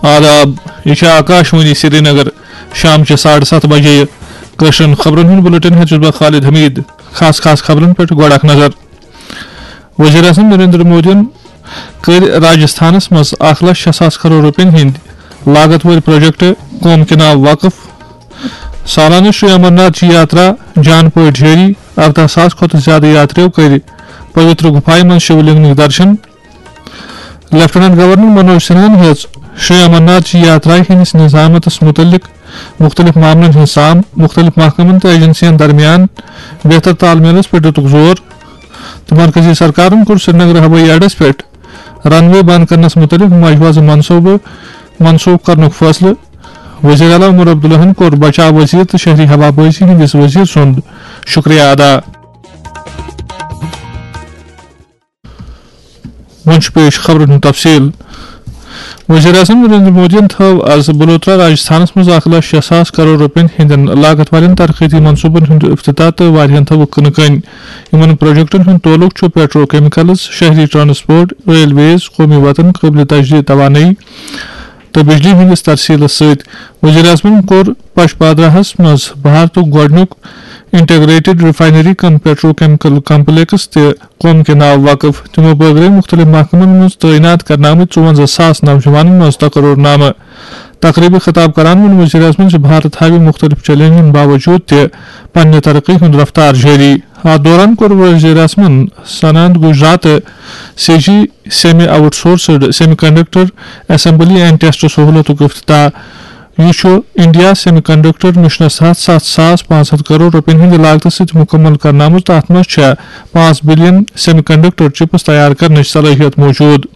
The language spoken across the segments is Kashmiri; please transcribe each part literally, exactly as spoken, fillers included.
آداب، یہِ چھِ آکاشوانی سرینگر۔ شام چہِ ساڑٕ ستھ بجے کٲشرٮ۪ن خبرن ہُنٛد بُلٹن ہٮ۪تھ چھُس بہٕ خالد حمید۔ خاص خاص خبرن پٮ۪ٹھ گۄڈٕ اکھ نظر۔ وزیر اعظم نریندر مودیَن کٔرۍ راجستھانس منٛز اکھ لچھ شےٚ ساس کرور رۄپین ہٕنٛدۍ لاگت وٲلۍ پروجیکٹ قوم کے ناو وقف۔ سالانہٕ شری امرناتھ جی یاترا جان پٲٹھۍ جٲری، ارداہ ساس کھۄتہٕ زیادٕ یاتریو کٔرۍ پویتر گُفایہِ منٛز شیولنگٕکۍ درشن۔ لیفٹیننٹ گورنر منوج سنہاہن ہیٚژ شری امرناتھ جی یاترا ہٕنٛدِس نظامس مُتعلق مُختٔلِف معاملن ہٕنٛز سام، مُختٔلِف محکمن تہٕ ایجنسین درمیان بہتر تال میلس پٮ۪ٹھ دِتُکھ زور تہٕ مرکزی سرکارن کوٚر سرینگر ہوٲیی اڈس پٮ۪ٹھ رن وے بند کرنس مُتعلق مجوزٕ منصوبہٕ منسوخ کرنُک فٲصلہٕ۔ وزیر اعلیٰ عمر عبداللہن کوٚر بچاو وزیر تہٕ شہری ہوابازی ہٕنٛدِس وزیر سُنٛد شُکریہ ادا۔ وۄنۍ چھُ پیش خبرن ہُنٛد تفصیل۔ وزیر اعظم نریندر مودیَن تھٲو از بلوترا راجستھانس منٛز اکھ لچھ شےٚ ساس کرور رۄپین ہٕنٛدٮ۪ن لاگت والٮ۪ن ترقیتی منصوبن ہُنٛد افتتاح تہٕ واریاہن تھٲوٕکھ کٕنہٕ کٔنۍ۔ یِمن پروجیکٹن ہُنٛد تعلق چھُ پیٹرو کیمیکلز، شہری ٹرانسپورٹ، ریلویز، قومی وطن، قٲبلِ تجدید توانٲیی تہٕ بجلی ہٕنٛدِس ترسیلس سۭتۍ۔ وزیر اعظمن کوٚر پچ پادراہس منٛز بھارتُک گۄڈٕنیُک انٹیگریٹڈ ریفائنری کم پیٹرو کیمیکل کمپلیکس تہِ قوم کے ناو وقف۔ تِمو بٲگرٲوۍ مُختٔلِف محکمن منٛز تعینات کرنہٕ آمٕتۍ ژُوَنزاہ ساس نوجوانن منٛز تقرر نامہٕ۔ تقریبہِ خطاب کران ووٚن وزیر اعظمن زِ بھارت ہاوِ مُختٔلِف چیلنجن باوجود تہِ پننہِ ترقی ہُنٛد رفتار جٲری۔ اتھ دوران کوٚر وزیر اعظمن Sanand Gujarat CG semi outsourced semiconductor assembly and test سہولتُک افتتاح۔ یہِ چھُ انڈیا سیمی کنڈکٹر مشنس تحت ستھ ساس پانٛژھ ہتھ کرور رۄپین ہٕنٛدِ لاگتہٕ سۭتۍ مُکمل کرنہٕ آمُت۔ تتھ منٛز چھےٚ پانٛژھ بلین سیمی کنڈکٹر چپس تیار کرنٕچ صلٲحیت موجود۔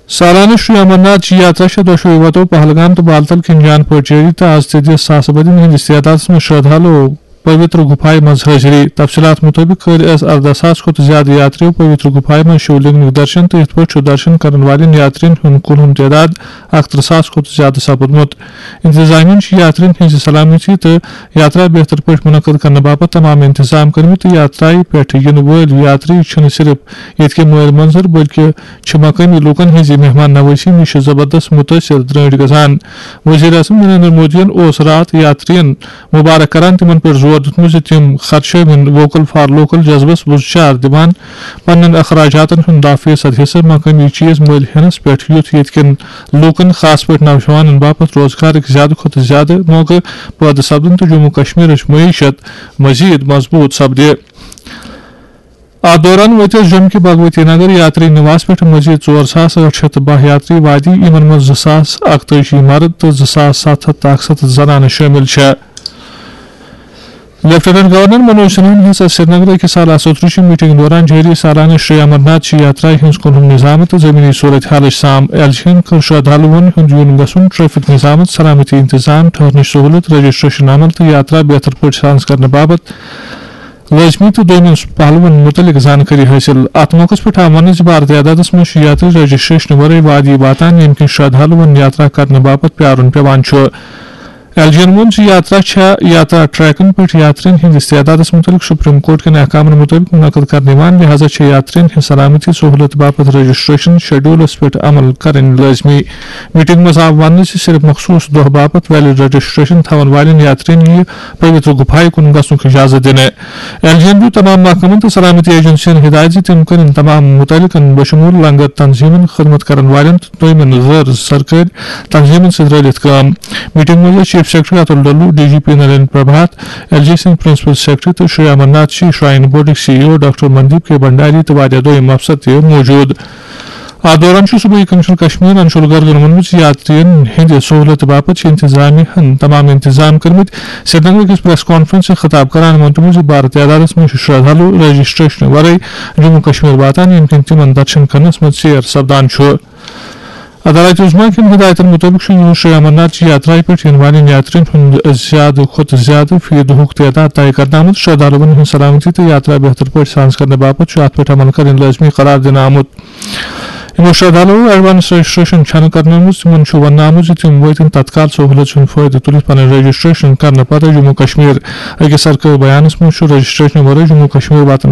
سالانہٕ شری امرناتھ جی یاترا چھےٚ دۄشوے وتو پہلگام تہٕ بالتل کِنۍ جان پٲٹھۍ جٲری تہٕ از تہِ دِژ ساسہٕ بٔدی ہٕنٛدِس تعدادس منٛز شرٛدھالو پویتر گُفایہِ منٛز حٲضری۔ تفصیلات مُطٲبِق کٔرۍ أسۍ ارداہ ساس کھۄتہٕ زیادٕ یاترِیو پویتر گُفایہِ منٛز شِولنگٕکۍ درشن تہٕ یِتھ پٲٹھۍ چھُ درشن کرن والٮ۪ن یاترِین ہُنٛد کُل ہُم تعداد اکترٕہ ساس کھۄتہٕ زیادٕ سپُدمُت۔ انتظامیہن چھِ یاترِین ہٕنٛزِ سلامتی تہٕ یاترا بہتر پٲٹھۍ منعقد کرنہٕ باپتھ تمام انتظام کٔرمٕتۍ تہٕ یاترایہِ پٮ۪ٹھ یِنہٕ وٲلۍ یاتری چھِنہٕ صرف ییٚتہِ کہِ مٲلۍ منظر بلکہِ چھِ مقٲمی لوٗکن ہٕنٛزِ مہمان نوٲزی نِش زبردست مُتٲثِر درٲنٛٹھۍ گژھان۔ وزیر اعظم نریندر مودیَن اوس راتھ یاترِین مبارک کران تِمن پٮ۪ٹھ زور دیُتمُت زِ تِم خرچٲوِن ووکل فار لوکل جذبس بُزچار دِوان پننٮ۪ن اخراجاتن ہُنٛد دَہ فیصد حصہٕ مقٲمی چیز مٔلۍ ہینس پٮ۪ٹھ، یُتھ ییٚتہِ کٮ۪ن لوٗکن، خاص پٲٹھۍ نوجوانن باپتھ روزگارٕکۍ زیادٕ کھۄتہٕ زیادٕ موقعہٕ پٲدٕ سپدن تہٕ جموں کشمیرٕچ معیشت مزید مضبوط سپدِ۔ اتھ دوران وٲتۍ أسۍ جوٚم کہِ بھگوتی نگر یاتری نواس پٮ۪ٹھ مزید ژور ساس ٲٹھ شیٚتھ تہٕ باہ یاتری وادی، یِمن منٛز زٕ ساس اکتٲجی مرد تہٕ زٕ ساس ستھ ہتھ تہٕ اکستتھ زنانہٕ شٲمِل چھےٚ۔ لیفٹیننٹ گورنر منوج سنہاہن ہیٚژ سرینگرٕ أکِس اعلیٰ سطحٕچہِ میٹنگ دوران جٲری سالانہٕ شری امرناتھ جی یاترا ہٕنٛز کُنہُم نظام تہٕ زمینی صورت حالٕچ سام۔ ایل جی یَن کٔر شرٛدھالوَن ہُنٛد یُن گژھُن، ٹریفک نظام، سلامتی انتظام، ٹھہرنٕچ سہولت، رجسٹریشن عمل تہٕ یاترا بہتر پٲٹھۍ سانس کرنہٕ باپتھ لٲزمی تہٕ دوٚیمٮ۪ن پہلوَن مُتعلِق زانکٲری حٲصِل۔ اَتھ موقعَس پٮ۪ٹھ آو وَننہٕ زِ بھارت اعدادَس منٛز چھِ یاتری رجسٹریشن ورٲے وادی واتان، ییٚمہِ کِنۍ شرٛدھالوَن یاترا کرنہٕ باپتھ پیارُن پٮ۪وان چھُ۔ ایل جی یَن ووٚن زِ یاترا چھےٚ یاترا ٹریکن پٮ۪ٹھ یاترین ہٕنٛدِس تعدادَس مُتعلِق سپریم کورٹ کٮ۪ن احکامَن مُطٲبِق منعقد کرنہٕ یِوان، لہذا چھےٚ یاترین ہٕنٛز سلامتی سہولت باپتھ رجسٹریشن شیڈولَس پٮ۪ٹھ عمل کرٕنۍ لٲزمی۔ میٹنگ منٛز آو وننہٕ زِ صرف مخصوص دۄہ باپتھ ویلڈ رجسٹریشن تھاون والٮ۪ن یاترین یِیہِ پویتر گُفایہِ کُن گژھنُک اجازت دِنہٕ۔ ایل جی یَن دیُت تمام محکمن تہٕ سلامتی ایجنسین ہدایت زِ تِم کرن تمام متعلقن بشمول لنگر تنظیمن، خدمت کرن والٮ۪ن تہٕ دوٚیمٮ۪ن غٲر سرکٲرۍ تنظیمن سۭتۍ رٲلِتھ کٲم۔ میٹنگ منٛز ٲسۍ chief secretary Atul Dulloo, D G P Nalin Prabhat, L G سٕنٛدۍ پرنسپل سیکرٹری تہٕ شری امرناتھ جی شراین بورڈٕکۍ C E O doctor Mandeep K Bhandari تہٕ واریاہ دوٚیِم افسر تہِ موجود۔ اتھ دوران چھُ صوبٲئی کمشنر کشمیر انشول گرگن ووٚنمُت زِ یاترین ہٕنٛدِ سہولت باپتھ چھِ انتظامیہ ہن تمام انتظام کٔرمٕتۍ۔ سرینگر أکِس پریس کانفرنس سۭتۍ خطاب کران ووٚن تِمو زِ بھارت اعدادس منٛز چھِ شرٛدھالو رجسٹریشن ورٲے جموں کشمیر واتان، ییٚمہِ کِنۍ تِمن درشن کرنس منٛز ژیر سپدان چھُ۔ عدالت عظمیٰ کٮ۪ن ہدایتن مُطٲبِق چھُ یوٗر شری امرناتھ جی یاترایہِ پٮ۪ٹھ یِنہٕ والٮ۪ن یاترین ہُنٛد زیادٕ کھۄتہٕ زیادٕ فی دۄہُک تعداد طے کرنہٕ آمُت۔ شرٛدھالوَن ہٕنٛز سلامتی تہٕ یاترا بہتر پٲٹھۍ سانس کرنہٕ باپتھ چھُ اتھ پٮ۪ٹھ عمل کرٕنۍ لٲزمی قرار دِنہٕ آمُت۔ یِمو شرٛدھالوَو ایڈوانس رجسٹریشن چھَنہٕ کرنٲومٕژ، تِمن چھُ وننہٕ آمُت زِ تِم وٲتِن تتکال سہوٗلت ہُنٛد فٲیدٕ تُلِتھ پنٕنۍ رجسٹریشن کرنہٕ پتہٕ جموں کشمیر۔ أکِس سرکٲرۍ بیانس منٛز چھُ رجسٹریشن ورٲے جموں کشمیر واتن